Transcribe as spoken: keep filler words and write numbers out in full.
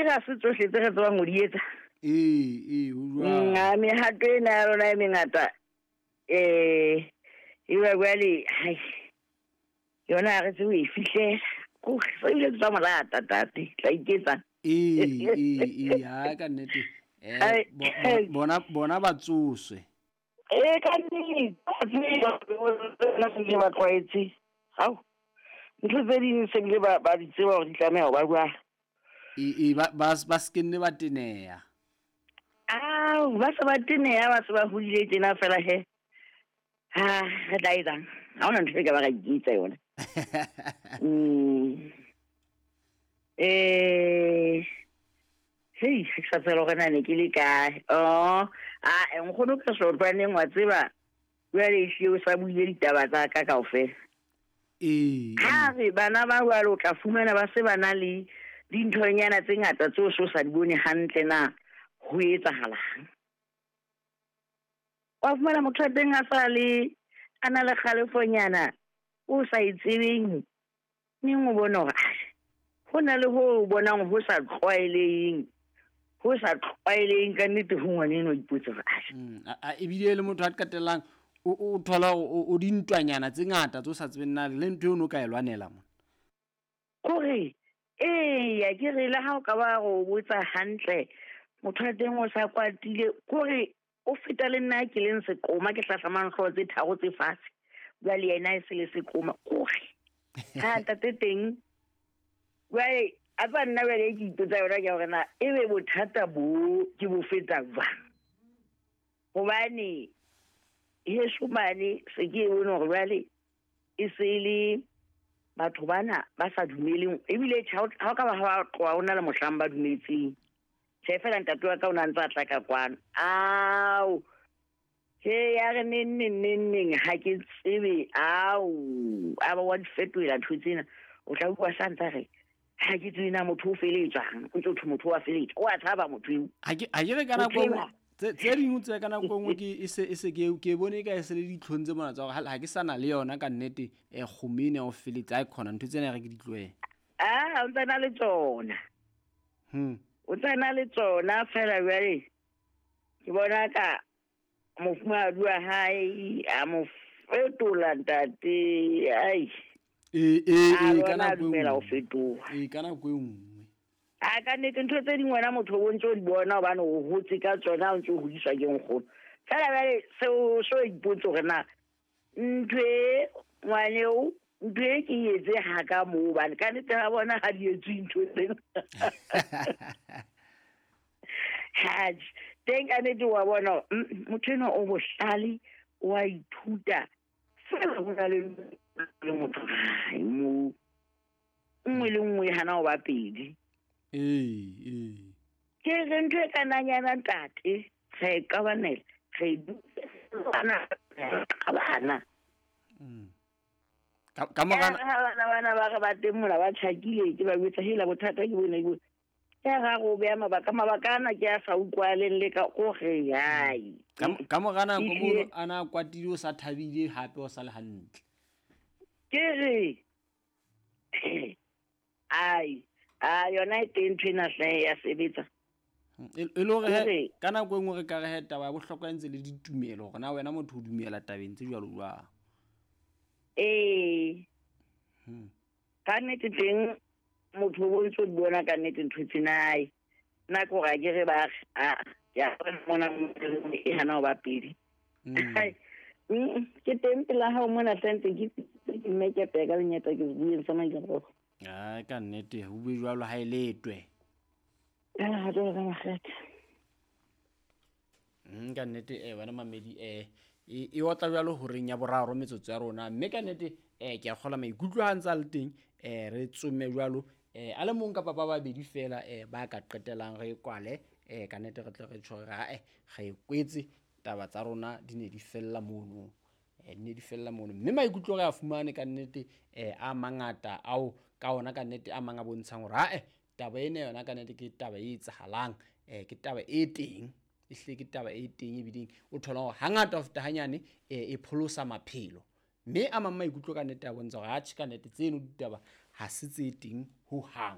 re ha se tsohle tse re tsebang ho di etsa. Ee, ee, ho jwalo. Mm, mehato ena ya rona e mengata eh eba jwale hai yona ha re tsebe ho e fihlela. Kore se ebile ke tsa morata tate, tla iketsang. Ee, ee, ee, ha ka nnete. Eh, Ai, bo- bo- bona bona ba tsoswe. Ee, ka nnete, ba se ba tlwaetse. Hao. Ntho tse ding se bile ba ba di tseba hore di tlameha ho ba jwang. Ee, ee, ba ba ba se ke nne ba teneha. Ao, ba se ba teneha, ba se ba hodile tjena fela he. Ha, re tla etsang? Ha hona ntho e ka ba ra iketsa yona. Mm. Eh, hei, ha ke sa tseba hore na ne ke le kae. Oh, ah, nkgono ka Sotlwaneng wa tseba. Jwale ehlile o sa buile ditaba tsa ka kaofela. Ee. Ha re bana ba jwalo o tla fumana ba se ba na le dinthonyana tse ngata tseo so sa di bone hantle na ho etsahalang. Wa fumana motho wa teng a sa le a na le kgalefonyana o sa e tsebeng, neng o bone hore ah, ho na le ho o bonang ho sa tlwaeleheng, ho sa tlwaeleheng ka nnete ho ngwaneno o ipotse hore ah. Mm, a- a- ebile e le motho a qetellang o o thola hore o o dintwanyana tse ngata tse o sa tsebeng na le ntho eo o no ka e lwanela mona. Kore eya ke re le ha o ka ba go botsa hantle motho wa teng o sa kwatile, kore o feta le nna ke leng seqoma ke hlahlamang hlooho tse tharo tse fatshe, jwale yena e se le seqoma. Kore ha ntate teng jwale a tsa nna jwale ke ipotsa yona ke hore na ebe bothata bo ke bo feta jwang, hobane heso mane se ke e bone hore jwale e se le batho bana ba sa dumeleng, ebile tjhe, ha o ha o ka ba ha ba tloha ho na le mohlang ba dumetseng. Tjhe, feela ntate wa ka o ne a ntse a tla ka kwano. Ao, he ya re neng neng neng neng ha ke tsebe. Ao, a ba wa di fetohela ntho tsena. O tla utlwa sa ntse a re ha ke tsebe na motho o feletswang, o ntso thwe motho wa feletswa, o a tshaba motho eo. Ha ke ha ke re ka nako Motho e nngwe enwa. tse tse ding tse ka nako e nngwe ke e se e se ke ke bone ka e se le ditlhong tse mona tsa hore ha ha ke sa na le yona ka nnete eh kgomo ena ya ho feletsa ha e khona ntho tsena re ke di tlohele. Ah, o ntsa na le tsona. Hmm. O ntsa na le tsona feela jwale ke bona ka mofumahadi wa hae a mo fetola ntate. Ai. Ee, ee, A ee, ka lona a nako e dumela ho nngwe. fetoha. Ee, ka nako e nngwe. A ka nnete ntho tse ding wena motho o ntse o di bona hobane o hotse ka tsona, o ntse o hodiswa ke nkgono. Feela jwale seo so ipotse hore na ntho e ngwaneo ntho e ke e etse ha ka moo, hobane ka nnete ha bona ha di etswe ntho tsena. Haj, teng ka nnete wa bona hore, mm, motho enwa o bohlale, o a ithuta. Feela ho na le le motho hae moo. Nngwe le nngwe e hana ho ba pedi. Ee, ee. Ke re ntho e kananyana ntate, re e qabanela, re e bana, re qabana. Mm. Ka, ka mora Ya re ha bana bana ba re ba teng mona ba tjhakile, ke ba jwetsa hela bothata ke bona ke bona. Ya ra re o beha mabaka, mabaka ana ke a sa utlwahaleng le ka kore hai. Ka, ka mora nako Ehlile. mono a na kwatile o sa thabile hape o sa le hantle. Ke re, ai, a yona e teng ntho ena hle ya sebetsa. E, e le hore he, Kore ka nako e nngwe re ka re he taba ya bohlokwa e ntse le ditumelo hore na wena motho o dumela tabeng tse jwalo jwang. Ee. Hmm. Ka nnete teng motho o bontse o di bona ka nnete ntho tsena ai. Nna ke hore ha ke re ba re, ah, ke a bona mona e hana ho ba pedi. Mm. Ai, mm, ke teng pela hao mona hle ntse ke ke mmekepe ka lenyata ke bueng sa maikemisetso. Ai, ka nnete ho bue jwalo ha e letwe. Ah, jwalo ka makgethe. Mm, ka nnete, eh, wena mamedi, eh, e, e otla jwalo horeng ya boraro metsotso ya rona, mme ka nnete, eh, ke a kgolwa maikutlo ha ntse a le teng, eh, re tsome jwalo, eh, a le mong kapa ba babedi fela, eh, ba ka qetellang re kwale, eh, ka nnete re tle re tjho hore, ah, eh, re e kwetse taba tsa rona di ne di fella mono. Eh, di ne di fella mono. Mme maikutlo re a fumane ka nnete, eh, a mangata ao ka ona ka nnete a mang a bontshang hore, ah, eh, taba ena yona ka nnete ke taba e etsahalang, eh, ke taba e teng. Ehlile ke taba e teng ebileng o thola hore hangata ho feta hanyane, eh, e pholosa maphelo. Mme a mang maikutlo ka nnete a bontsha hore atjhe ka nnete tseno ditaba ha se tse teng hohang.